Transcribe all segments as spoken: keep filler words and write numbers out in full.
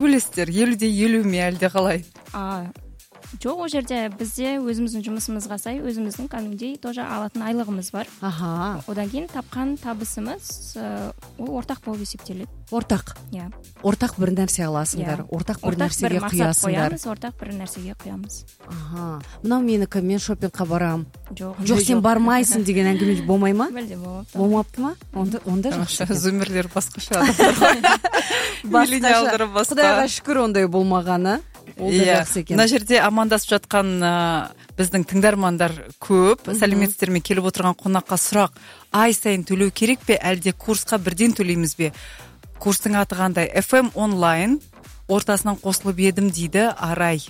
билесиздер, элүүдө элүүмү әлде калай? Жок, ол жерде бизде өзүбүздүн жумушубузга сай өзүбүздүн кәдимгидей тоже алатын айлыгыбыз бар. Аха. Одан кийин тапкан табысыбыз ол ортак болуп эсептелет. Ортак. Иә. Ортак бир нерсе аласыңдар, ортак бир нерсеге куясыңдар. Ортак бир нерсеге куябыз. Аха. Мына меники, мен шопингка барам. Жок. Жок, сен бармайсың деген әңгеме болмойбу? Белде болмапты. Болмаптымы? Онда онда жакшы. Зумерлер башкача адамдар. Миллениалдар башка. Кудайга шүкүр ондай болмаганы. Ол да жакшы экен. Мына жерде амандасып жаткан биздин тыңдармандар көп. Саламатсыздарбы? Келип отурган конакка сурак: ай сайын төлөө керекпи, әлде курска бирден төлөймүзбү? Курстун аты кандай? эф эм онлайн ортасынан косулуп едим дейді Арай.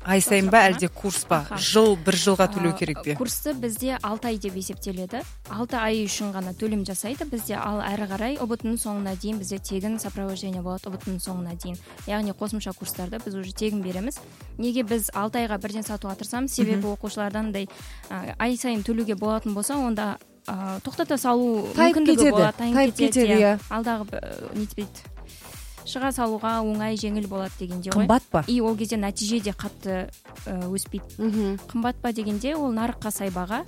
Ай сайын ба, әлде курс ба? Жыл, бир жылга төлөө керекпи? Курсты бизде алты ай деп эсептеледі. алты ай үчүн гана төлөм жасайды. Бизде ал ары карай обуттун соңуна дейин бизде тегин сопровождение болот, обуттун соңуна дейин. Яғни косумча курстарды биз уже тегин беребиз. Неге биз алты айга бирден сатып атырсам, себеби окуучулардан мындай ай сайын төлөөгө болотун болсо, онда токтото салуу мүмкүндүгү болот, тайып кетет. Ал дагы нетпейт. Шыга салууга оңай, жеңил болот дегенде го. Кымбатпы? И ол кезде натиже де катты өспөйт. Кымбатпа дегенде ол нарыкка сай бага.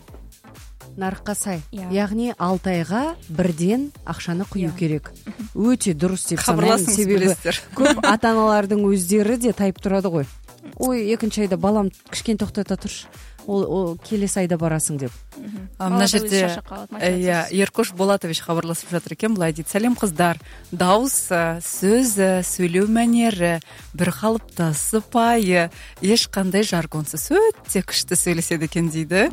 Нарыкка сай. Яғни алты айга бирден акчаны куюу керек. Өтө дурус деп санайм, себеби көп ата-аналардын өздөрү де тайып турады ғой. Ой, экинчи айда балам кичкен токтото турчу. Ол келесі айда барасың деп. Мына жерде Еркош Болатович хабарласып жатыр экен, былай дейт: салем кыздар, дауыс, сөз, сүйлөө манери, бир калыпта, сыпайы, эч кандай жаргонсуз өтө күчтүү сүйлөшөт экен дейді.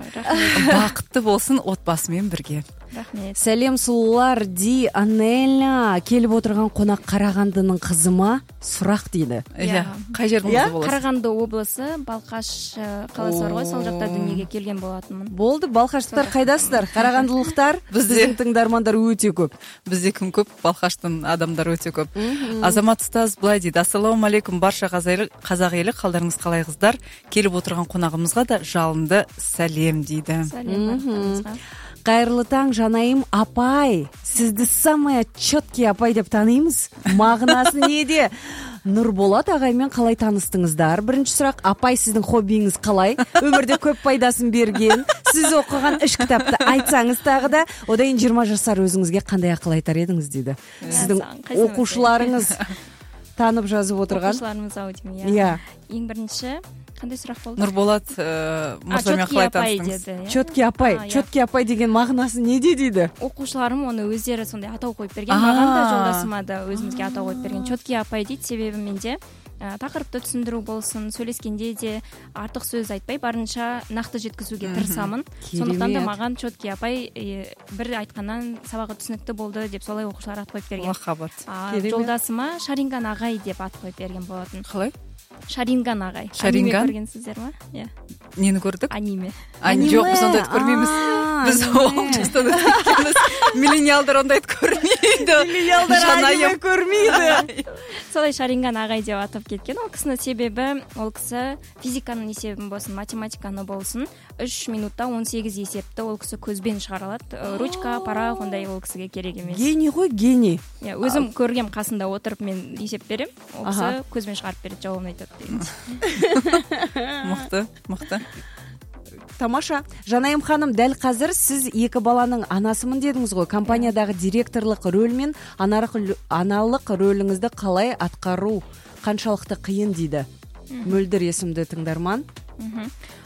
Бакытты болсун отбасы менен бирге. Рахмет. Салем сулуулар, Ди Анеля келип отурган конак Карагандынын кызыма сурак дейді. Иә, кай жерден болосуз? Караганды облусу, Балкаш каласы бар го, сол жакта дүнүйгө келген болатынмын. Болду, балкаштыктар кайдасыздар? Карагандылыктар, биздин тыңдармандар өтө көп. Бизде ким көп? Балкаштын адамдары өтө көп. Азамат Устаз былай дейт: ассаламу алейкум барша казак эли, калдарыңыз калай кыздар? Келип отурган конагыбызга да жалынды салем дейді. Салем. Кайырлы таң, жанайым апай. Сизди самая четкий апай деп тааныйбыз. Мағынасы неде? Нурболот агай менен калай тааныстыңыздар? Биринчи сурак: апай, сиздин хоббиңиз калай? Өмүрдө көп пайдасын берген, сиз окуган үч китапты айтсаңыз дагы да, одан кийин жыйырма жашар өзүңүзгө кандай акыл айтар едиңиз дейді. Сиздин окуучуларыңыз таанып жазып отурган. Окуучуларыбыз аудим, иә. Эң биринчи кандай сурак болду? Нурболот мырза менен калай тааныстыңыз? Четкий апай, четкий апай деген мағынасы неде дейді? Окуучуларым оны өздері сондай атау коюп берген, мага да жолдошума да өзүбүзгө атау коюп берген. Четкий апай дейт, себеби менде такырыпты түшүндүрүү болсун, сүйлөшкенде де артык сөз айтпай, барынча накты жеткизүүгө тырысамын. Сондуктан да маган четкий апай бир айткандан сабагы түшүнүктүү болду деп солай окуучулар ат коюп берген. Махабат. Жолдосума Шаринган агай деп ат коюп берген болотун. Калай? Шаринган агай. Шаринган көргөнсүздөр ма? Иә. Нени көрдүк? Аниме. Жок, биз ондойт көрмөйбүз. Биз обществодон өткөнбүз. Миллениалдар ондойт көрмөйдү. Миллениалдар аниме көрмөйдү. Солай Шаринган агай деп атап кеткен. Ол кисинин себеби, ол киси физиканын эсебин болсун, математиканы болсун, үч минутта он сегиз эсепти ол киси көзбен чыгара алат. Ручка, парак ондай ол кисиге керек эмес. Гений го, гений. Иә, өзүм көргөм, касында отуруп мен эсеп берем. Ол киси көзбен чыгарып берет, жообун айтат дейм. Мыкты, мыкты. Тамаша. Жанайым ханым, дәл казыр сиз эки баланын анасымын дедиңиз го. Компаниядагы директорлук рөл менен аналык рөлүңүздү калай аткаруу канчалыкты кыйын дейді. Мөлдүр эсимдүү тыңдарман.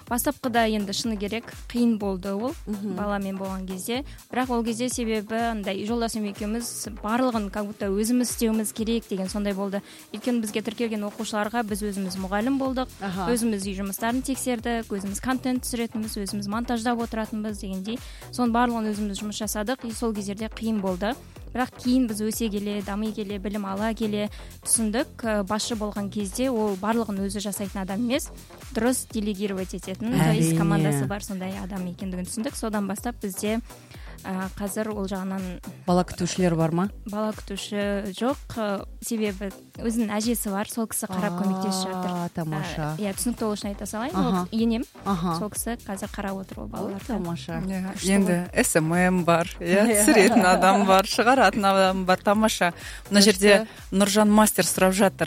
Бастапкыда энди шыны керек кыйын болду ол бала менен болгон кезде. Бирок ол кезде себеби андай жолдошум экөөбүз баардыгын как будто өзүмүз істөөбүз керек деген сондай болду. Өйткөнү бизге тиркелген окуучуларга биз өзүмүз мугалим болдук, өзүмүз үй жумуштарын текшердик, өзүмүз контент түзүрөтүнбүз, өзүмүз монтаждап отуратынбыз дегендей. Сонун баардыгын өзүмүз жумуш жасадык. И сол кездерде кыйын болду. Бирок кийин биз өсө келе, дамый келе, билим ала келе түшүндүк, башы болгон кезде ол баардыгын өзү жасайтын адам эмес, дурус делегировать этетин, то есть командасы бар сондай адам экендигин түшүндүк. Содан баштап бизде казыр ол жагынан бала күтүүчүлөр бармы? Бала күтүүчү жок, себеби өзүнүн ажеси бар, сол киши карап көмөктөшүп жатыр. Тамаша. Иә, түшүнүктүү болушун айта салайын. Энем сол киши казыр карап отур ол балаларды. Тамаша. Энди эс эм эм бар, иә, түсүрөтүн адам бар, чыгаратын адам бар. Тамаша. Мына жерде Нуржан мастер сурап жатыр: